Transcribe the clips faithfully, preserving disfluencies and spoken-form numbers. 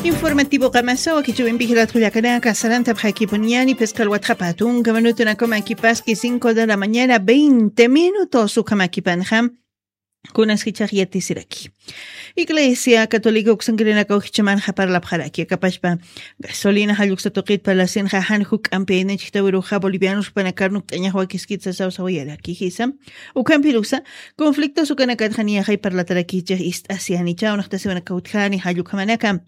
Informativo qamasa wakichiwimpi jilatkullakanaka sarantapxakipuniñani phisqa alwatxapa tunka minutunakamakipaski cinco de la mañana veinte minutos ukamakipanxa. Kunas jichhax yatisiraki. Iglesia católica uksankirinaka ujichamanxa parlapxaraki akapashpa gasolina jalluksa tuqit parlasinxa jan juk'ampi aynachiktawirux ja bolivianos jupanakarnuk t'añaxwakiskit sasawsawayaraki jisa. Ukampirusa conflictos ukanakatxa niyaxay parlatarakichix ist'asi janichaw naqtasiwanaka utjani jallukhamanaka.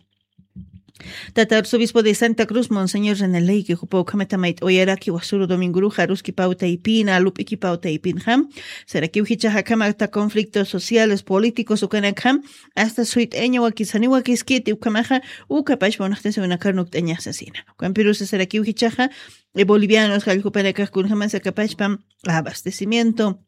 Tata arzobispo de santa cruz monseñor reneleyki jupa ukhamata mayt'awayaraki wasuru domingoruxa aruski pawtaypina lup'iki pawtaypinxa. Sarakiw jichaxa akhamata conflictos sociales políticos ukanakxa hasta suyt'aña wakisani wakiskiti ukhamaxa. Ukapashpa unaqtasiwanakarnuk t'añaxsasina ukampirusa sarakiw jichaxa bolivianos jalljupanakax kunjamasa kapashpa abastecimiento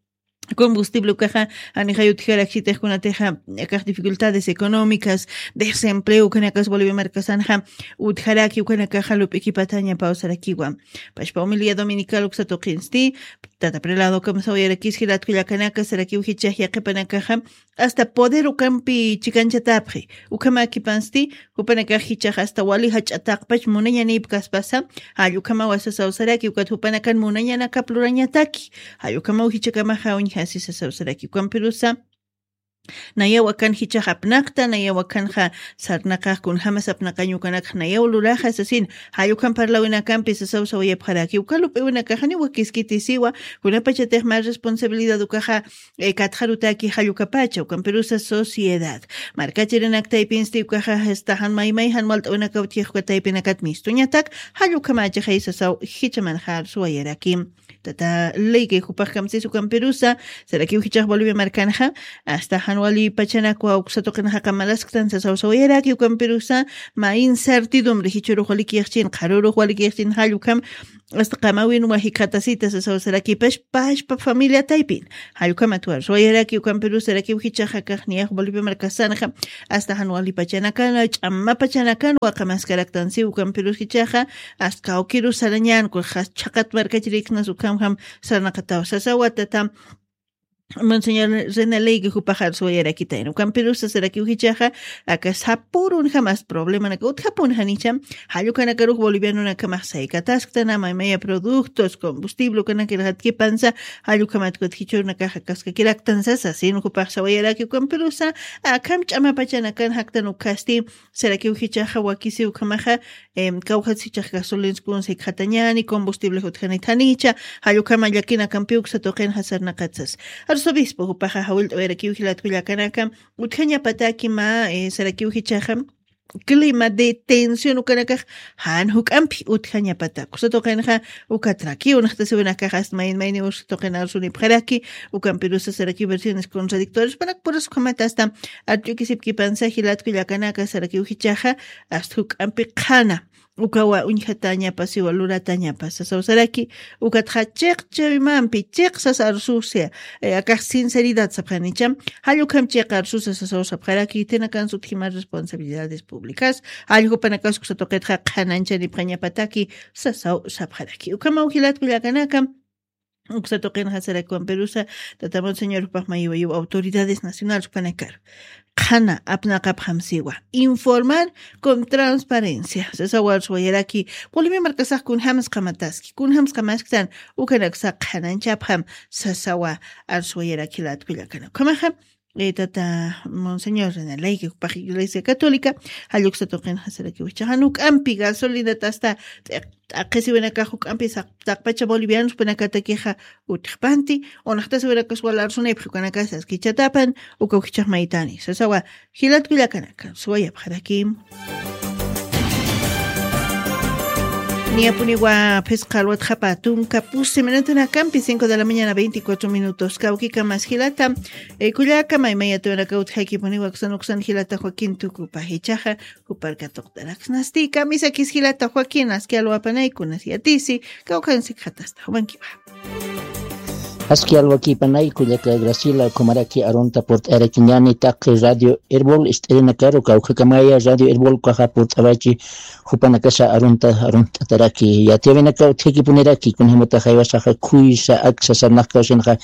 combustible ukaxa janixay utjaraksitix kunatixa akax dificultades económicas desempleo ukanakas bolivia markasanxa utjaraki ukanakaxa lup'ikipataña pawsarakiwa. Pashpa humilidad dominical uksa tuqinsti tata prelado kamsawayarakis jilatkullakanaka sarakiw jichax yaqipanakaxa hasta poder ukampi chikanchatapxi. Ukhamakipansti jupanakax jichax hasta wali jach'ataqpach munañanipkaspasa jall ukhamawa sasawsaraki ukat jupanakan munañanakap lurañataki. Jall ukhamaw jichakamaxa uñjasi sasawsaraki ukampirusa nayaw akan jichax apnaqta nayaw akanxa sarnaqax kunjamas apnaqañ ukanakxa nayaw luraxa sasin. Jall ukham parlawinakampi sasawsawayapxaraki uka lup'iwinakaxani wakiskitisiwa kunapachatix mä responsabilidad ukaxa katxarutaki jallukapacha ukampirusa sociedad markachirinaktaypinsti ukaxa jistaxan maymay jan walt'awinaka utjixuka taypinakat mistuñatak jallukamachixay sasaw jichamanxa arsuwayaraki. Tata ley kay jupax kamsis ukampirusa sarakiw jichax bolivia markanxa hasta jan wali pachanakwa uksa tuqinaxa qamalasktan sasaw sawayaraki ukampirusa mä incertidumbre jichurux walikiyxchin qharurux walikiyxchin jallukam hasta qamawin wajikxatasita sasawsarakipash pashpa familia taypin. Jallukhamat warsuwayaraki ukampiru sarakiw jichaxa kaxniyax bolivia markasanxa hasta jan wali pachanakan ch'ama pachanakan waqamaskaraktansi ukampirus jichaxa hasta kawkiru sarañan kuxas chhaqat markachiriksnas ukhamjam sarnaqataw sasawatata. Monseñor renaleyki jupaxar suwayarakitayna ukampirusa sarakiw jichaxa aka sapurun jamas problemanaka utjapun janicham jallukanakarux bolivianunakamax saykatasktanama imaya productos combustible ukanakirxatkipansa jallukamatkut jichurnakaxa kaskakiraktansa sasin jupax sawayaraki ukampirusa akham ch'amapachanakan jaktan ukhasti sarakiw jichaxa wakisiw ukhamaxa kawjat sichax gasolins kunsa jikxatañani combustible jutjanit janicha. Jallukama llakinakampiw uksa tuqinxa sarnaqatsas arzobispo jupaxa jawillt'awayarakiw jilatkullakanaka utjañapataki mä sarakiw jichaxa clima de tensión ukanakax jan juk'ampi utjañapatak usa tuqinxa ukatrakiw naqtasiwinakax asta mayin mayniw usa tuqin arsunipxaraki ukampirusa sarakiw versiones contradictorios panak puras ukhamata asta arch'ukisipkipansa jilatkullakanaka sarakiw jichaxa asta juk'ampi qhana ukawa uñjatañapasiwa luratañapasa sawsaraki ukatxa chiqchawimampi chiqsas arsusia akax sinceridad sapxanicham jall ukham chiqa arsusa sasaw sapxaraki itinakan sutjima responsabilidades públicas jall jupanakas uksa tuqitxa qhananchanipxañapataki sasaw sapxaraki ukhamaw jilatkullakanaka uksa tuqinxa sarakiwan pirusa tata monseñor jupax mayiwayiw autoridades nacionales jupanakar qhana apnaqapxam siwa informar con transparencia sasaw arsuwayaraki bolivia markasax kunjams qamataski kunjams qamasktan ukanaksa qhananchapxam sasawa arsuwayaraki latkullakana ukhamaxa tata monseñor renaleyki jupax iglesia católica jalluksa tuqinxa sarakiw jichaxa nuk'ampi gasolinata asta t'aqhisiwinakax juk'ampi taqpacha bolivianos jupanakatakixa utjpanti unaqtasiwinakas wal arsunipxi ukanakasa askichatapan ukaw jichax maytani sasawa jilatkullakanaka suwayapxarakim. Niyapuniwa phisqa alwatxapa tunka pusi minutunakampi cinco de la mañana veinticuatro minutos kawkikamas jilata kullaka maymayatiwanaka utjaykipuniwa uksan uksan jilata joaquin tukupa jichaxa juparka tuqt'araksnasti kamisakis jilata joaquin aski alwapanaykunas yatisi kawkansikxatasta jumankiwa. Aski alwakipanay kullaka Graciela, ukhamaraki arunta purt'ayarakiñani taqi Radio Erbol ist'irinakaru, kawkhakamaya Radio Erbol ukaxa purt'awachi jupanakasa arunta arunt'ataraki. Yatiyawinaka utjikipuniraki, kunjamata jaywasaxa khuysa aksa sarnaqkawsinxa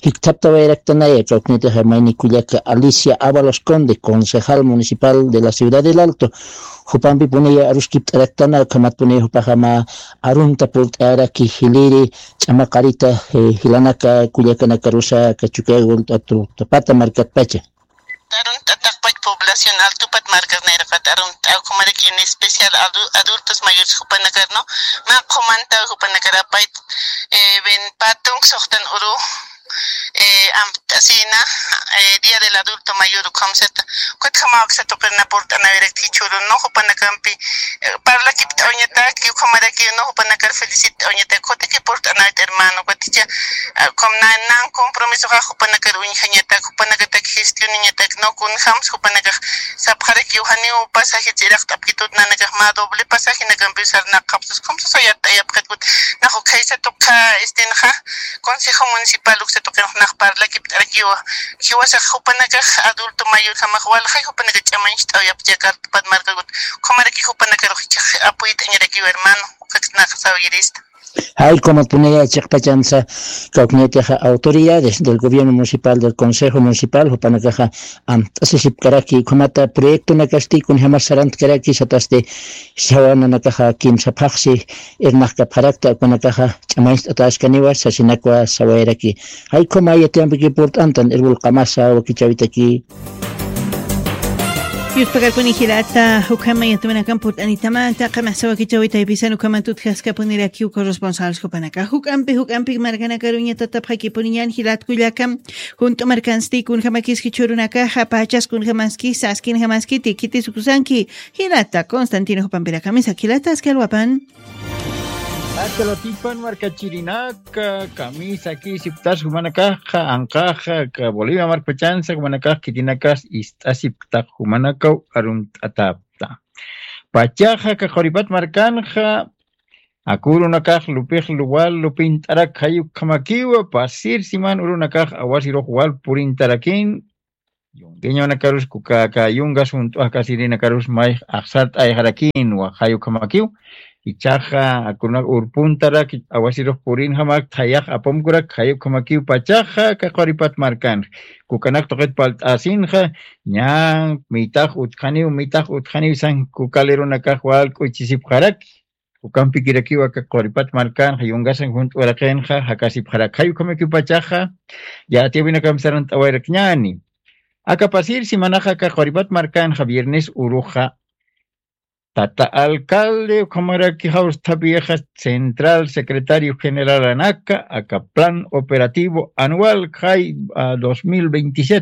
jikthaptawayraktanaya, kawknitixa mayni kullaka Alicia Ábalos Conde, concejal municipal de la ciudad del Alto, jupampipuniya aruskipt'araktana, ukhamatpuniya jupaxama arunta purt'ayaraki jiliri ch'amaqarita, eh, jilanaka kullakanakarusa kachukagu t'atu tapata markatpacha. Arunt'ataqpach población altupat markasnayraqat arunt'aw, ukhamaraki en especial adu- adultos mayores jupanakarno manqhumantaw jupanakarapayt, eh, ven patunk soxtan uru, eh, amt'asina, eh, día del adulto mayor ukhamsata. Kutjamaw aksatuqirna purt'anawirakti churun no jupanakampi, eh, parlakipt'awñatak ukhamaraki no jupanakar felicit'awñatak kutiki purt'anawit hermano kuticha. Ukham nan compromisoxa jupanakar uñjañatak jupanakatak gestioniñatak no kunjams jupanakax sapxarakiw janiw pasaje ch'iraqt'apkitut nanakax mä doble pasajenakampiw sarnaqapsus ukham sasayart'ayapxitkut. Nax ukhaysatuqa istinxa consejo municipal uksatuqinx nax parlakipt'arakiwa. Jiwasax jupanakax adulto mayorjamax walxay jupanaka ch'amañcht'awyapcha kartupat markakut. Ukhamaraki jupanakarux ichax apuyt'añarakiw hermano. Ukaknaxsaw yirista. Jay kumatpunaya chiqpachansa kawknitixa autoridades del gobierno municipal, del consejo municipal jupanakaxa amt'asisipkaraki ukhamata proyectonakasti kunjamas sarantkaraki satasti sawananakaxa kimsaphaxsi irnaqkapxarakta ukanakaxa ch'amañcht'ataskaniwa sasinakwa sawayaraki. Jay khuma yatiyampiki purt'antan irwul qamasa wakichawitaki. Yuspakarpuni jilata ukhama yatawinakan purt'anitamata qamasa wakichawitaypisan ukhamatut jaskapunirakiw corresponsales jupanaka juk'ampi juk'ampi markanakaruña tatapxakipuniñan jilat kullaka. Junt'u markansti kunjamakiski churunakaxa pachas kunjamaski saskinjamaski tikitisukusanki. Jilata constantino jupampirakamisa jilata aski alwapan. Aka latipan markachirinaka kamisaki siptas jumanakaxa anqaxa ka bolivia markpachansa jumanakax khitinakas ist'asipktaq jumanakaw arunt'atapta. Pachaxa ka quripat markanxa akurunakax lupix luwal lupint'arak jayukhamakiwa pasir siman urunakax awasirux wal purintarakin. Yungueñonakarus kukaka yungas junt'uakasirinakarus mayx axsart'ayxarakinwa jayukhamakiw. Ichaxa akunak urpuntarak awasirux purinxamak thayax apumkurak jayukhamakiw pachaxa kaquripat markanx kukanak tuqit palt'asinxa. Ña mitax utjaniw mitax utjaniw san kukalirunakax wal k'uchisipxaraki. Ukampikirakiw aka quripat markanxa yungasan junt'uraqinxa jakasipxarakxay ukhamakipachaxa. Yatiyawinakam sarant'awayrakñani. Aka pasir simanaxa aka quripat markanxa viernes uruxa tata alcalde ukhamaraki jawsthapixa central secretario generalanaka aka plan operativo anual jay dos mil veintisiete.